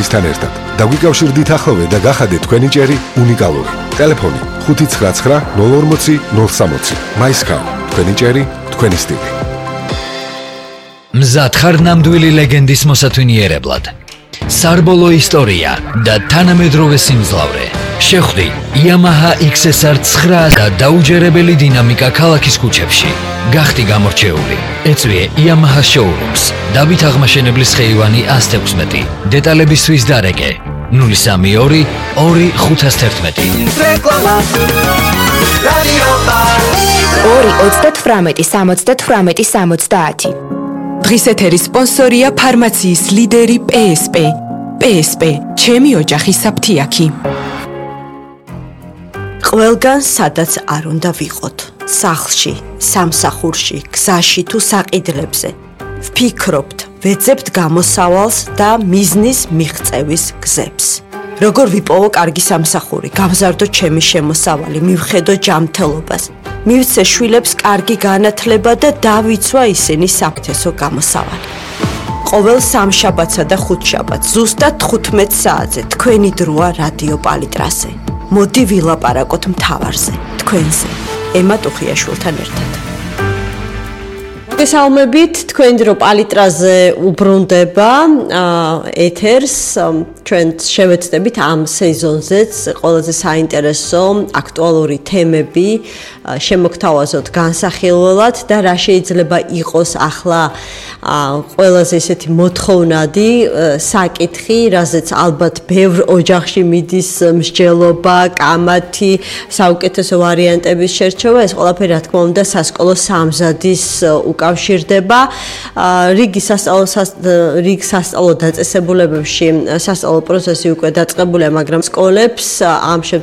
ჩვენისთან ერთად. დაგვიკავშირდით ახლოვე და გახადეთ თქვენი ჭერი უნიკალური. ტელეფონი 599 040 060. MyScout. თქვენი ჭერი, თქვენი სტილი. მზად ხარ ნამდვილი ლეგენდის მოსათვინიერებლად. სარბოლო ისტორია და თანამედროვე სიმძლავრე. შეხვდი Yamaha XSR 9 და დაუჯერებელი დინამიკა ქალაქის ქუჩებში. გახდი გამორჩეული. ეწვიე Yamaha Showrooms. დავით აღმაშენებლის ხეივანი 116. დეტალებისთვის დარეკე 032 2511. რეკლამა რადიო 2 38 70 დღის ეთერის სპონსორია ფარმაციის ლიდერი PSP. PSP, ჩემი ოჯახი საფთიაქი. ყველგან სადაც არ უნდა ვიყოთ. სახლში, სამსახურში, გზაში თუ საყიდლებზე. ვფიქრობთ, ვეძებთ გამოსავალს და მიზნის მიღწევის გზებს. როგორ ვიპოვო კარგი სამსახური, გავზარდო ჩემი შემოსავალი, მივხედო ჯანმრთელობას. მივცე შვილებს კარგი განათლება და დავიცვა ისინი საუკეთესო გამოსავალი. ყოველ სამშაბათსა და ხუთშაბათს ზუსტად 15 საათზე თქვენი დროა რადიო პალიტრაზე. მოდი ვილაპარაკოთ მთავარზე, თქვენზე, ემა ტუხიაშვილთან ერთად. მოგესალმებით, თქვენი დრო პალიტრაზე უბრუნდება ეთერს. ჩვენ შევეცდებით ამ სეზონზეც ყველაზე საინტერესო აქტუალური თემები შემოგთავაზოთ განსახილველად და რა შეიძლება იყოს ახლა ყველაზე ესეთი მოთხოვნადი საკითხი, რაზეც ალბათ ბევრ ოჯახში მიდის მსჯელობა, კამათი, საუკეთესო ვარიანტების შერჩევა, ეს ყველაფერი რა თქმა უნდა სასკოლო სამზადის უკავშირდება. რიგ სასწავლო დაწესებულებებში სასწავლო პროცესი უკვე დაწყებულია, მაგრამ სკოლებს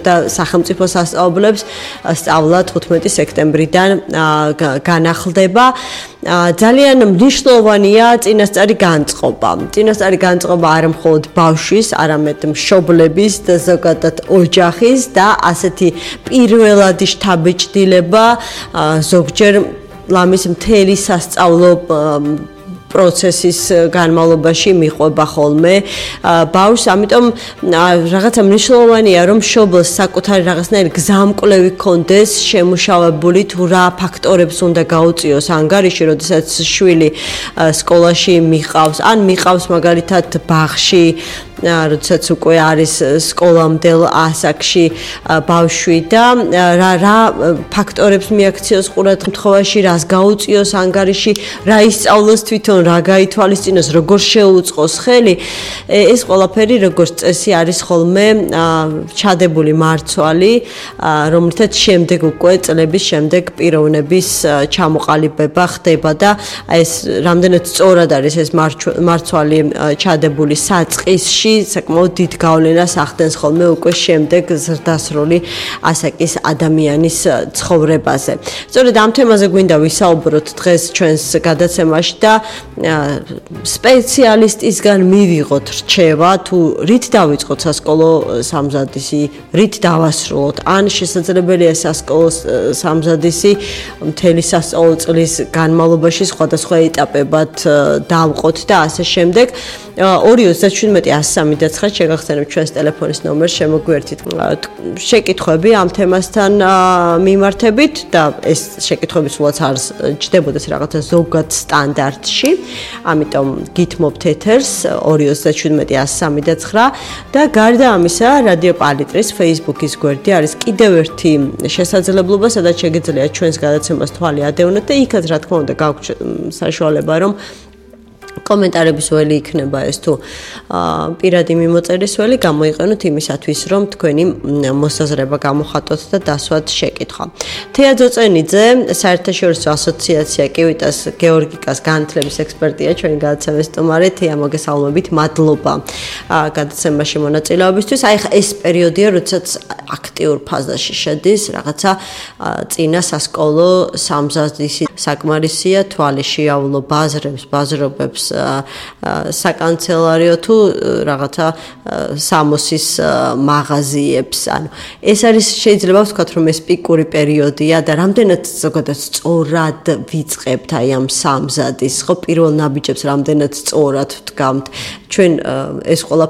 და სახელმწიფო სასწავლებლებს სწავლა 15 სექტემბრიდან განახლდება. ძალიან მნიშვნელოვანია წინასწარი განწყობა. წინასწარი განწყობა არა მხოლოდ ბავშვის, არამედ მშობლების და ზოგადად ოჯახის და ასეთი პირველადი შთაბეჭდილება ზოგჯერ ლამის მთელი სასწავლო პროცესის განმავლობაში მიყვება ხოლმე ბავშვს, ამიტომ რაღაცა მნიშვნელოვანია, რომ მშობელს საკუთარი რაღაცნაირი გზამკვლევი ჰქონდეს შემუშავებული, თუ რა ფაქტორებს უნდა გაუწიოს ანგარიში, როდესაც შვილი სკოლაში მიყავს, ან მიყავს მაგალითად ბაღში, როდესაც უკვე არის სკოლამდელ ასაკში ბავშვი და რა ფაქტორებს მიაქციოს ყურადღებაში, რას გაუწიოს ანგარიში, რა ისწავლოს თვითონ, რა გაითვალისწინოს, როგორ შეუწყოს ხელი. ეს ყველაფერი როგორც წესი არის ხოლმე ჩადებული მარცვალი, რომლითაც შემდეგ უკვე წლების შემდეგ პიროვნების ჩამოყალიბება ხდება და ეს რამდენად სწორად არის ეს მარცვალი ჩადებული საწყისში, საკმაოდ დიდ გავლენას ახდენს ხოლმე უკვე შემდეგ ზრდასრული ასაკის ადამიანის ცხოვრებაზე. სწორედ ამ თემაზე გვინდა ვისაუბროთ დღეს ჩვენს გადაცემაში და სპეციალისტისგან მივიღოთ რჩევა, თუ რით დავიწყოთ სასკოლო სამზადისი, რით დავასრულოთ, ან შესაძლებელია სასკოლო სამზადისი მთელი სასწავლო წლის განმავლობაში სხვადასხვა ეტაპებად დავყოთ და ასე შემდეგ. 2-37-103 შეგახსენებთ ჩვენს ტელეფონის ნომერს, შემოგვიერთით შეკითხვები ამ თემასთან მიმართებით და ეს შეკითხვები სულაც არ ჯდებოდეს რაღაცა ზოგად სტანდარტში, ამიტომ გითმობთ ეთერს 2-37-103 და გარდა ამისა, რადიო პალიტრის Facebook-ის გვერდი არის კიდევ ერთი შესაძლებლობა, სადაც შეგიძლიათ ჩვენს გადაცემას თვალი ადევნოთ და იქაც რა თქმა უნდა გაქვთ საშუალება, რომ კომენტარების ველი იქნება ეს თუ პირადი მიმოწერის ველი გამოიყენოთ იმისათვის, რომ თქვენი მოსაზრება გამოხატოთ და დასვათ შეკითხვა. თეა ძოწენიძე, საერთაშორისო ასოციაცია კივიტას გეორგიკას განათლების ექსპერტია, ჩვენი გადაცემის სტუმარი. თეა, მოგესალმებით, მადლობა გადაცემაში მონაწილეობისთვის. აი ხა ეს პერიოდია, როდესაც აქტიურ ფაზაში შედის, რაღაცა წინა სასკოლო სამზადისი საკმარისია, თვალი შეავლო ბაზრობებს საკანცელარიო თუ რაღაცა სამოსის მაღაზიებს. ანუ ეს არის შეიძლება ვთქვათ, რომ ეს პიკური პერიოდია და რამდენად ზოგადად სწორად ვიწყებთ აი ამ სამზადის, ხო პირველ ნაბიჯებს რამდენად სწორად ვდგამთ. ჩვენ ეს ყველა